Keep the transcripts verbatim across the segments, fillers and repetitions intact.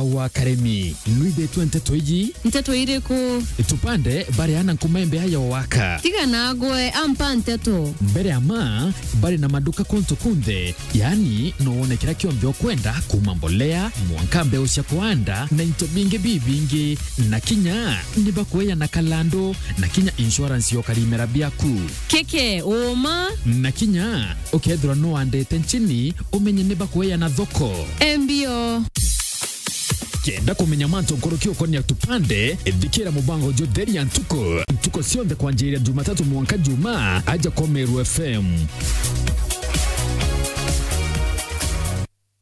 wa Karemi. Nwithitwe nteto iji? Nteto iriku? Tupande bari ana nkuma imbe ayo waka. Tiga nagwe, ampa nteto. Mbere ama, bari na maduka kuntu kunthe, yaani no wone kira kionthe ukwenda, kuma mbolea, mwanka mbeu cia kuanda, na into bingi bibingi. Na kinya ni bakueana kalandu, na kinya insurance ya ukarimera biaku. Keke, uma? Na kinya ukethirwa nuandite nchini, umenye ni bakueana thoko. Embio. Kenda kumenya mantu nkuruki ukonia tupande, thikira mubango jutheria ntuku, ntuku cionthe kwanjiria Jumatatu mwanka Jumaa, aja kwa Meru F M.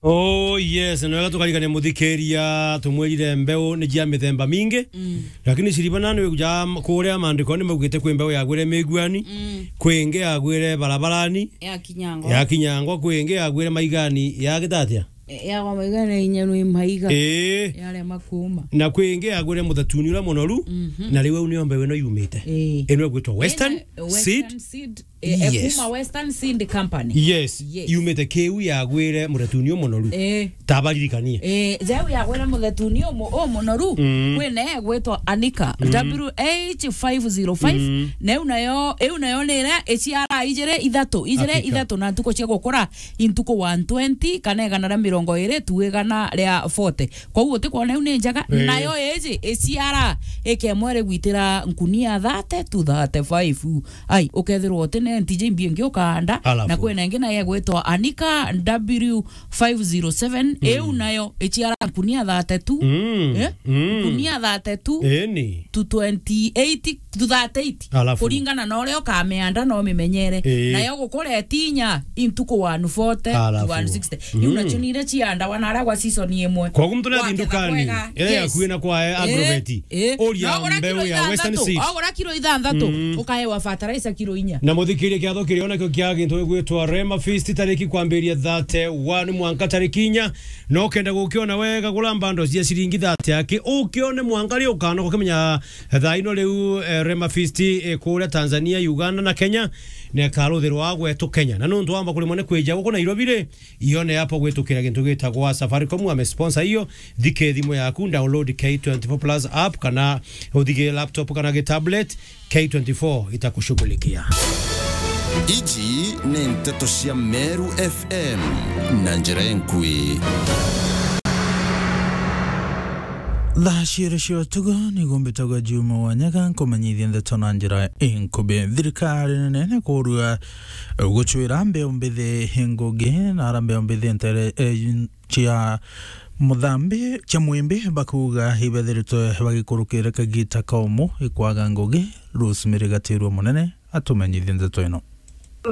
Oh yes, na wega tukarikania muthikiria, tumwirire mbeu ni cia mithemba mingi. Mm. Lakini ciribana ni wikuja kuria maandiko ni maugite kwi mbeu yagwire miguani, mm, kwi ingi yagwire barabarani, ya kinyangwa, ya kinyangwa, kwi ingi yagwire maigani, ya gitatia? E, ya kwa maiga na inya nwi maiga. Ii. Yarema kuuma. Na kwi ingi yagwire muthetuni uria munoru, mhm, na riu au nio mbeu ino yumite. Ii. Ino igwitwa Western Ina-, Western Seed. Seed. E, e, yes. Kuma Western Seed Company. Yes. Yes. Yumite kiu yagwire muthetuni umunoru. Ii. Tabaririkanie. Ii, jeu yagwire muthetuni umu-, umunoru, mm, kwina igwitwa Anika, mm, W H five zero five, mm, na iu nayo, iu nayo ni iria iciara ijiri ithatu, ijiri Hakika. ithatu na ntuku cia gukura intuku one twenty, kana igana ria mirongo iri tu igana ria forty. Kwou utikwona iu ni njega, eh, nayo iji iciara ikemwe rigwitira nkunia thirty to thirty-five. Ai, ukethirwa uti na ntiji imbi ingi ukahanda, Alafu. na kwina ingi nayo igwitwa Anika W five zero seven, mm, iu nayo iciara nkunia thirty-two, Mm, eh? mm. Nkunia thirty-two Eni. to twenty-eight to thirty-eight. Alafu. Kuringana na uria ukamianda na umimenyere. Ii. Nayo gukura itinya intuku one forty to Alafu. one sixty. Iu Mm. nacio ni iria ciandawa na aria gwa season imwe. Koguo muntu ni athi Waketha ndukani, kwega. Iria Yes. yakuwi na kwa, eh, Ii, Agrovet. ii. Uria No ugura mbeu kilo ya Western ithanthatu, Seed. Ugura kilo ithanthatu, Mm. ukaewa fertilizer kilo inya. Na muthikirie kiatho kirio nakio kia gintu gigwitwa Rema Feast, tariki kwambiria thirty-one mwanka tariki inya. No ukenda gukiona wega, gura bundles cia ciringi thirty aki, ukione mwanka ri ukanoka ukimenya thaa ino riu, eh, Rema Feast, eh, kuria Tanzania, Uganda na Kenya, na ikaruthirwa gwetu Kenya. Na nuntu wamba kurimwa ni kwija guku Nairobi ri, ione app gwitukira gintu gitagwa Safaricom, ame sponsor iyo, thike thimu yaku, download K twenty-four plus app, kana uthige laptop kana gi tablet, K twenty-four itakushughulikia. Iji ni nteto cia Meru F M na njira enkui. Thaa ciiri cia utuku, niguo mbitagwa Juma Wanyaga, nkumenyithia ndeto na njira inkubi. Thirikari nene ni kurua gucwira mbeu mbithi ngugi na ara mbeu mbithi ntere, eh, cia muthambi, cia mwimbi, bakuuga ibethiritwe bagikurukira kagita kaumu ikwaga ngugi. Rosemary Gatirua Munene atumenyithie ndeto ino.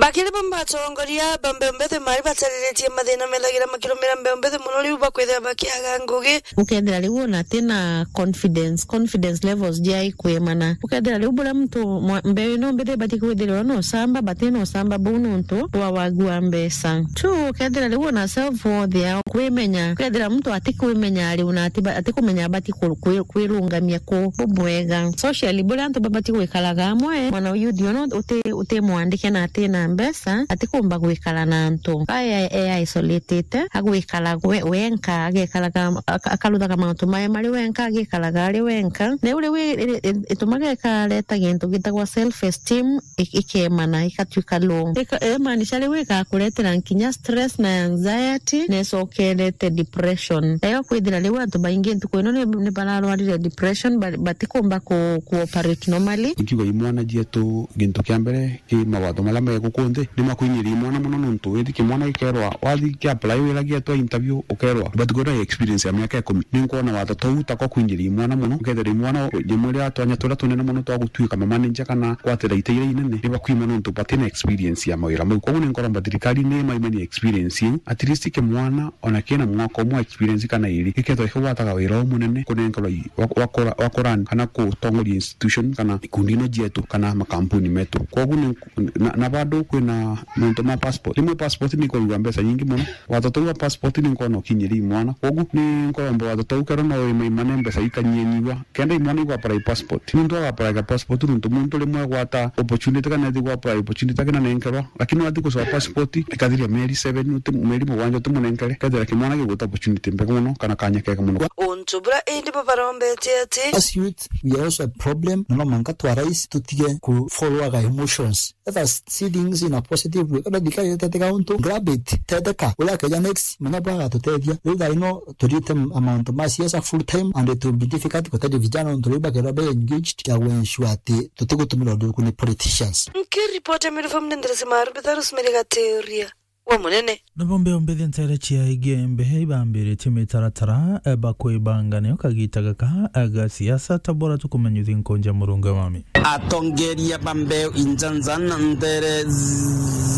Bakiri bamwe atongoria ba mbeu mbithi mari batariritie mathina methagira makirumira mbeu mbithi mono, riu bakwithira bakiaga ngugi. Ukethira riu ona atina confidence, confidence levels jia ikwimana. Ukethira riu buria muntu mwa-, mbeu ino mbithi ibati kwithirwa na ucamba, bati na ucamba buu nuntu bwa wagi wa mbeca. Two, ukethira riu ona self worth yao kwimenya. Ukethira muntu ati kwimenya riu na ati ba-, ati kumenya abati ku-, kwi-, kwirungamia ku bubwega. Socially, buria antu babati gwikaraga amwe, mwana uyu thiona uti, uti mwandike na ati na mbeca, ati kumba gwikara na antu. Aya e isolated, agwikara we-, wenka, agekaraga, aka-, akaruthaga mauntu mae mari wenka, agikaraga ari wenka. Na riu, riu i-, i-, i-, itumaga ikareta gintu gitagwa self esteem, i-, ikemana, ikatuika low. Ika-, imaanisha riu igakuretera nkinya stress na anxiety, na icokerete depression. Nayo kwithira riu antu baingi ntuku ino ni, ni bararwarire depression, ba-, batikumba ku, ku operate normally. Ikiuga imwana cietu, gintu kia mbere, ki mawatho maria me guku nthi, ni makuinyiria imwana mono, nontu withi kimwana gikerwa, wathi ki apply wira gietwa interview, ukerwa, but gwira experience ya miaka ikumi. Ni nkwona watho tou ta kwa kuinyiria imwana mono, ukethira imwana rimwe ria twanya turia tunene mono twa gutuika mamanager kana gwatira ite iria inene, ni bakwima nontu batina experience ya mawira mau. Koguo ni nkoromba thirikari ni maimanie experience iu, at least kimwana ona kina mwaka umwe experience kana iri, gikethwa gikigwataga wira umunene kunenkerwa i-, wa, wa kura-, wa kurani kana kutongoria institution kana ikundi ino cietu kana makampuni metu. Koguo ni, na, na bado Riu kwina mantu ma passport. Rimwe passport ni ikurugwa mbeca nyingi mono. Watho tuu wa passport ni nkwona ukinyiri imwana. Kogu ni nkuromba watho tuu kethirwa no wimaimane mbeca ikanyianyiwa. Kenda imwana igwa apply passport. Muntu aga apply ka passport nontu muntu rimwe agwata opportunity kana ethi gwa apply opportunity akina nenkerwa. Lakini wathi gucoa passport, ikathiria mieri seven, uti-, mieri mugwanja utimunenkere. Kethira kimwana gigwita opportunity mbega mono kana kanya kega mono. Untu bura indi bo barombete ati. As youth, we are also a problem, na no mwanka twa rais tutige ku follow our emotions. Let us see things in a positive way. Kenda thirikari iteteka untu, grab it, teteka. Uria akeja next, menya bwa agatutethia. Riu thaa ino, turiite m-, mauntu ma siasa full time, and it will be difficult gutethia vijana untu riu bakethirwa be engaged ya ensure ati tutigutumira undu uku ni politicians. Nkiripota Meru F M ni Nderesi Maru, mbitha Rosemary Gateria. Wa munene. Nabo mbeombithia ntere cia Igembe ibambiritie mitaratara, eh, bakwibanga nio kagita gaka, eh, ga siasa, ta bora tukumenyithia nkonja murunga mami. Atongeria ba mbeu injanjan ntere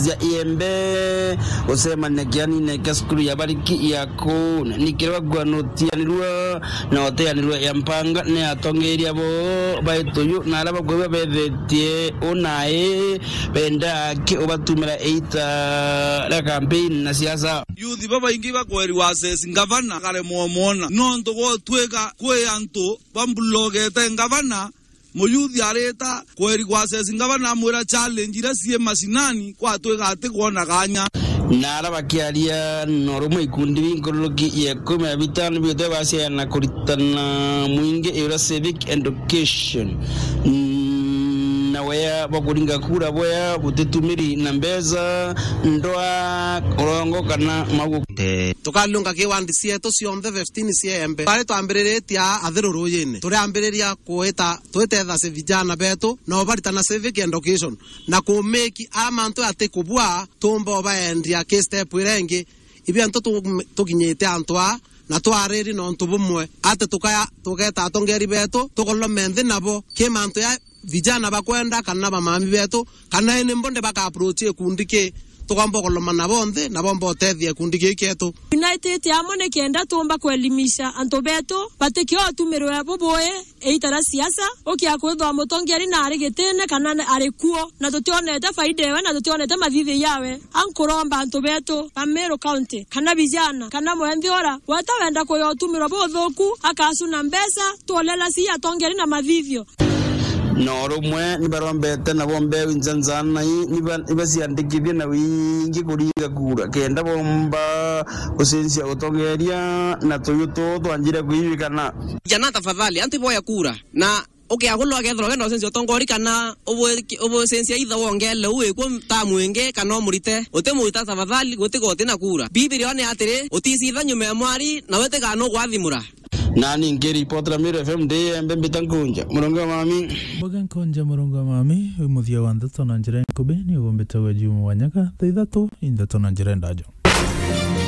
cia Iembe gucemania kianine kia cukuru ya bariki ya kuu, na ni kiria bagua nutianirua na uteanirua ya mpanga ni atongeria bo baituyu na aria bakwigua bethetie unai benda ki ubatumira iita ria campaign na siasa. Youth babaingi bakweri gwa assess ngavana, karemwa umwona. Nontu gwotwika kwi antu bambulogete ngavana, muyuthi arita kweri gwa assess ngavana, amwira challenge iria cii macinani, gwatwika ati kwona kanya. Na aria bakiaria no rumwe ikundi binkururuki ya ikumi na bitano bigote baciana kuritana mwingi iura civic education. Mm, na wea bwa kuringa kura bwea butitumiri na mbeca, ndwa, urongo kana magu. Tukalunga ki wandi cietu cionthe fifteen cia Embe. Twari twambiriritie aa Athiru Ruyine. Turiambiriria kuita, twitetha ci vijana betu, na ubaritana civic education, na kumeki ara mantu ati kubua, tumba ubaendia ki step iria ingi. Ibi antu tu-, tukinyite antu aa, na twariri na untu bumwe, ati tukaya, tugeta atongeri betu, tukolome nthi nabo, ki mantu ya vijana bakwenda, kana bamami betu, kana ini mbonde baka approach ikundi ki, tukomba ukoloma nabo nthi, na bomba utethia ikundi ki kietu. United amwe ni kenda tumba kuelimisha antu betu, batikio utumirwe bubui, iita ria siasa, ukia kwithwa mutongeri na ari gitine kana na ari kuo, na tutionete faida ewe, na tutionete mathithio yawe. Ankuromba antu betu ba Meru County, kana vijana, kana mwenthi ura, weta wenda kuya utumirwa buthuku, akacuna mbeca, tulela si atongeri na mathithio. No rumwe ni barombete nabo mbeu injanjanai, niba-, nibaciandikithie na wingi kuringa kura, kenda bomba gucenjia utongeria na tuyu tuu twanjire kuiwikana. Jana tafadhali, antu iboya kura, na ukiagulwa akethirwa wenda ucenjia utongori kana ubu-, ubucenjia itha wongele u wikwo ta mwingi kana umurite, utimurita tafadhali, gutiga uti na kura. Bibilia ni atiri, uticitha nyuma ya mwari, na we tigana ugwathimura. Nani nkiripotera Meru F M ndi Embe mbita nkunja murongo wa mami. Mboga nkonja murongo wa mami, wi muthia wa ndeto na njira nkubi, ni ugumbite gwe Juma wa Nyaga, thaa ithatu, i ndeto na njira ndajo.